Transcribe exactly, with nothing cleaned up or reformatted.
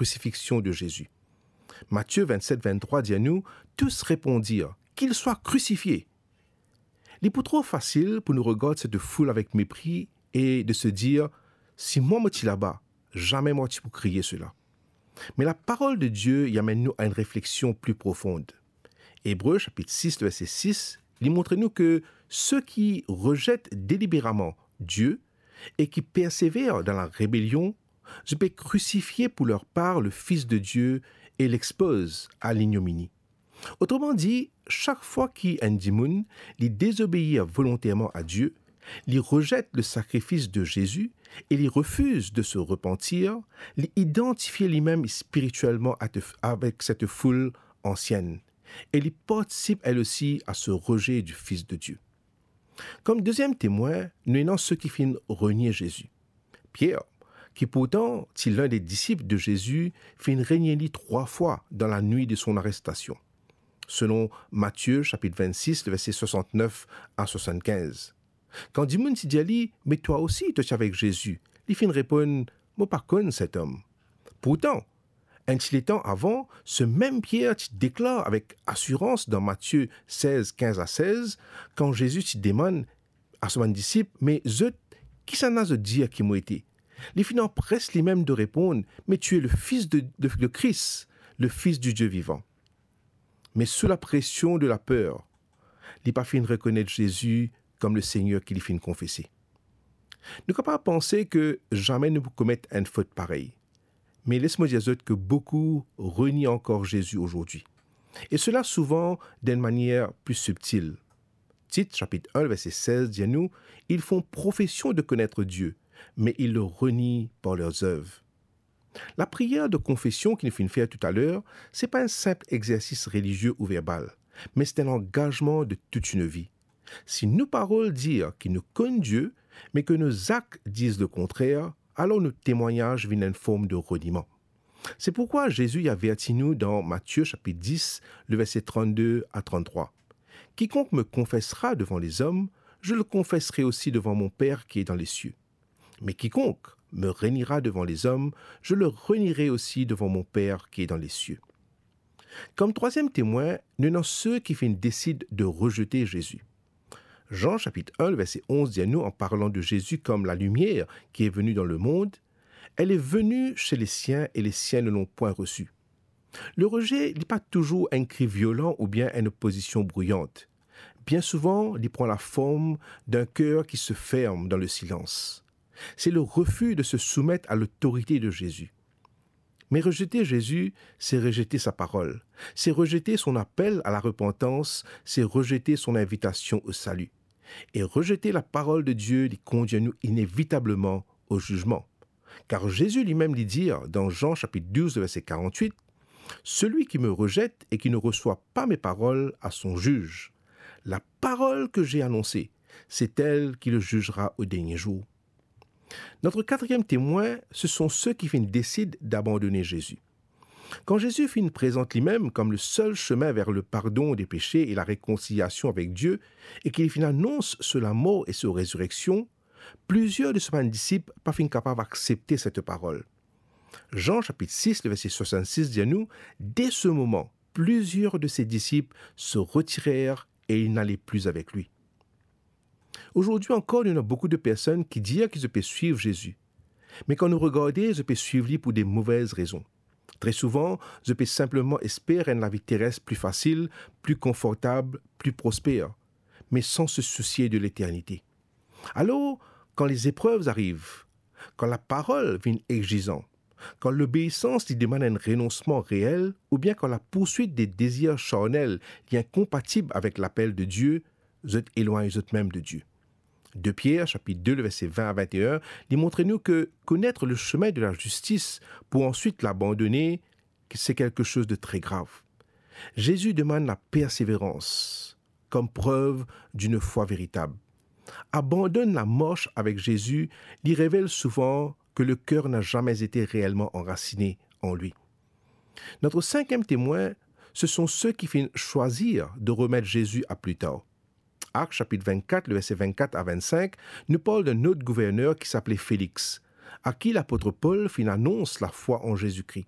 crucifixion de Jésus. Matie vennset venntrwa dir nou, tous répondirent, "Qu'il soit crucifié." Li pou tro fasil pou nou regard set foul avek mepri e de se dir, "Si mwa mo ti laba, zame mwa ti pou kriye sela." Me laparol de Die, li amenn nou a enn refleksion pli profond. Ebre sapit sis, verse sis, li montre nou ke se ki rezet deliberaman Die e ki persever dan laribelion, zot pe krisifie pou ler par le Fis de Die e lexpoz a linyomini. Otremandi, sak fwa ki enn dimoun, li dezobeir volonterman a Die, li rezet le sakrifis de Zezi e li refiz de se repantir, li idantifie limem spiritielman a te-, avek set foul ansienn e li partisip, elle aussi, a se rejet du Fils de Dieu. Kom deziem temwin, nou ena se ki finn renie Zezi. Pier, ki pourtan ti linn de disip de Zezi, finn renie li trwa fwa dan lanwit de son arestasion, selon Matie sapit vennsis, le verse swasantnef a swasannkinz. Kan dimoun ti dir li, "Me twa osi, to ti avek Zezi," li finn reponn, "Mo pa konn set om." Pourtan, enn ti letan avan, se mem Pier ti deklar avek asirans dan Matie sez, kinz a sez, kan Zezi ti demann a so bann disip, "Me zot, kisannla zot dir ki mo ete?" Li finn anpres limem de reponn, "Mais tu es le Fils de, de, de Christ, le Fils du Dieu vivant." Me sou lapresion de laper, li pa finn rekonet Zezi kom le Segner ki li finn konfese. Nou kapav panse ke zame nou pou komet enn fot parey. Me les mo dir zot ke boukou renie ankor Zezi azordi. E sela souvan dan enn manier pli sibtil. Tit, sapit enn, verse sez, dir nou, "Ils font profession de connaître Dieu, mais ils le renient par leurs œuvres." Lapriyer de konfesion ki nou finn fer toutaler, se pa enn sinp exersis relizie ou verbal, me se enn langazman de tout enn vi. Si nou parol dir ki nou konn Die, me ke nou zak diz lekontrer, alor nou temwagnaz vinn enn form de reniman. Se pourkwa Zezi averti nou dan Matie sapit dis, le verse trannde a tranntrwa. "Quiconque me confessera devant les hommes, je le confesserai aussi devant mon Père qui est dans les cieux. Mais quiconque me reniera devant les hommes, je le renierai aussi devant mon Père qui est dans les cieux." Kom trwaziem temwin, nou ena se ki finn desid de rezete Zezi. Zan sapit enn, verse onz dir nou, an parlan de Zezi kom lalimier ki est venu dans le monde, "Elle est venue chez les siens et les siens ne l'ont point reçue." Le rejet, li pa touzour enn kri violan oubien enn opozision brouyant. Bien souvan, li pran laform d'enn ker ki se ferm dan le silans. Se le refi de se soumet a lotorite de Zezi. Me rezete Zezi, se rezete sa parol, se rezete son apel a larepantans, se rezete son invitasion o sali. E rezete laparol de Die, li kondir nou inevitableman o zizman. Kar Zezi limem li dir dan Zan sapit douz, verse karantwit, "Celui qui me rejette et qui ne reçoit pas mes paroles a son juge. La parole que j'ai annoncée, c'est elle qui le jugera au dernier jour." Notre quatrième témoin, ce sont ceux qui finn desid d'abandonner Jésus. Kan Zezi finn prezant limem kom le sel semin ver le pardon de pese e larekonsiliasion avek Die, e ki li finn anons so lamor e so rezireksion, plizier de so bann disip pa finn kapav aksepte set parol. Zan sapit sis, le verse swasannsis dir nou, "Dès ce moment, plusieurs de ses disciples se retirèrent et ils n'allaient plus avec lui." Azordi ankor, nou ena boukou de personn ki dir ki zot pe swiv Zezi. Me kan nou regarde, zot pe swiv li pou de movez rezon. Tre souvan, zot pe sinpleman esper enn lavi teres pli fasil, pli konfortab, pli prosper, me san se sousie de leternite. Alor, kan lezeprev ariv, kan laparol vinn exizan, kan lobeisans li demann enn renonsman reel, oubien kan lapourswit de dezir sarnel li inkonpatib avek lapel de Die, zot elwagn zot mem de Die. De Pier, sapit de, le verse vin a vinte-et-un, li montre nou ke connaître le chemin de la justice pour ensuite l'abandonner, c'est quelque chose de très grave. Zezi demann laperseverans kom prev d'une foi véritable. Abandonn lamars avek Zezi, li revel souvan ke le ker na zame ete reelman anrasine an li. Notre cinquième témoin, ce sont ceux qui finissent choisir de remettre Jésus à plus tard. Actes chapitre vingt-quatre, le verset vingt-quatre à vingt-cinq, nous parle d'un autre gouverneur qui s'appelait Félix, à qui l'apôtre Paul finn anons la foi en Jésus-Christ.